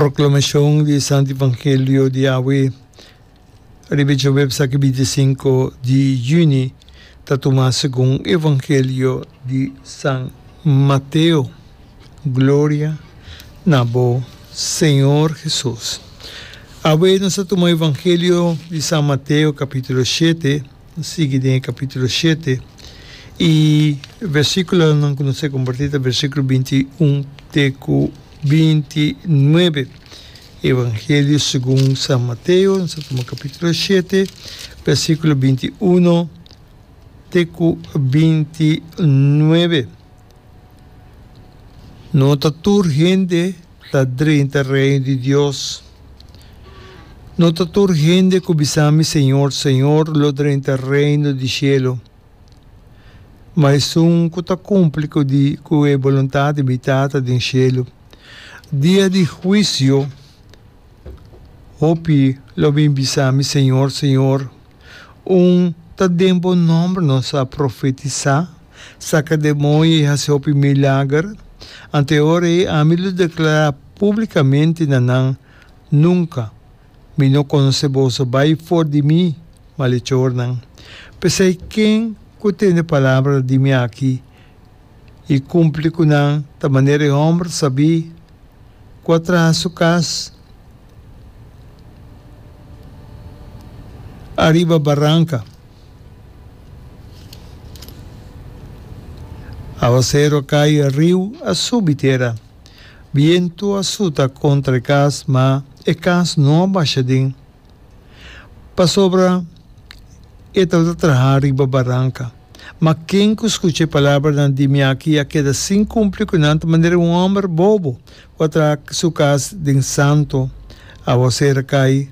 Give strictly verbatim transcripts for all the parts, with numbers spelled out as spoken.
Proclamacion di Santo Evangelio di awe riba djaweps aki binti sinku di juni ta tuma segun Evangelio di San Mateo. Gloria na bo, Señor Jesus. Awe nos ta tuma Evangelio di San Mateo capítulo shete, nos sigui den e capítulo shete y versículonan cu nos ta comparti ta versículo binti un te cu binti nuebe. Evangelio segun San Mateo, nos ta tuma capítulo shete, versículo binti uno te cu binti nuebe. No ta tur hende ta drenta Reino di Dios. No ta tur hende ku bisa mi, Señor, Señor, lo drenta Reino di shelu, ma esun ku ta kumpli ku di ku e boluntat di mi Tata den shelu. Dia di huisio, hopi lo bin bisa mi, Señor, Señor, Un ta den bo nòmber nos a profetisá, saka demoño i hasi hopi milager? Anto e ora ei ami lo deklará públikamente na nan, Nunka mi no konosé boso, bai for di mi, malechornan. P'esei ken ku tende palabra di mi aki i kumpli ku nan ta manera e hòmber sabí ku a traha su kas ariba baranka. Awaseru a kai, riu a subi tera. Bientu a suta kontra e kas, ma e kas no a basha den, pasobra e tabata traha riba baranka. Ma ken ku skucha e palabranan di mi aki i a keda sin kumpli ku nan ta manera un hòmber bobo ku a traha su kas den santu. Awaser a kai,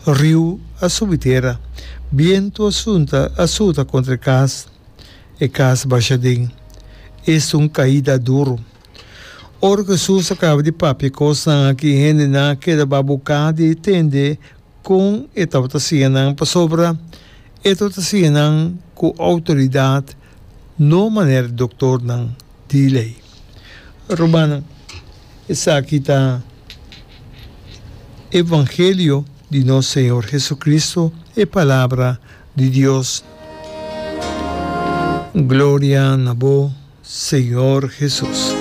riu a subi tera, bientu a sunta a suta kontra e kas, e kas basha den. Esta un kaida duru! Ora ku Hesus a kaba di papia e kosnan aki, hendenan a keda babuká di tende Kon e tabata siña nan? Pasobra e tabata siña nan ku outoridat, no manera doktornan di lei. Rumannan, esaki ta evangelio di nos Señor Jesucristo, e Palabra di Dios. Gloria na bo, Señor Jesus.